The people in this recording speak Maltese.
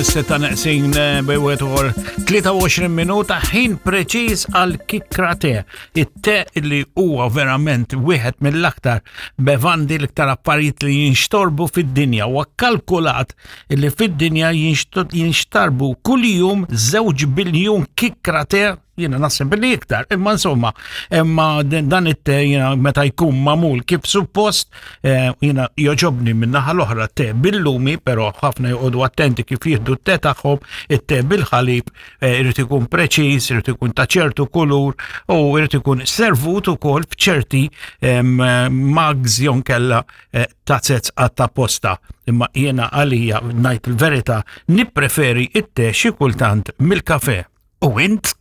Mis-sitta neqsin eh, bejwet uħor 23 minuta ħin preċiż għal kikra te. It-te li huwa verament wieħed mill-aktar bevandi l-iktar affarijiet li jinxtorbu fid-dinja u kalkulat li fid-dinja jinxtarbu kuljum 2 biljun kikra te jiena naħseb li iktar, imma insomma, imma dan it-te jiena meta jkun mamul kif suppost, eh, jiena joġobni minn naħa l-oħra te bil-lumi, però ħafna joqogħdu attenti kif jieħdu t-te tagħhom, it-te bil-ħalib, eh, irid ikun preċiż, irid ikun ta' ċertu kulur u irid ikun servut ukoll f'ċerti mugs jew kella eh, tazez għatta posta. Imma jiena għalija ngħid il-verità nippreferi it-te xi kultant mill-kafe. U int?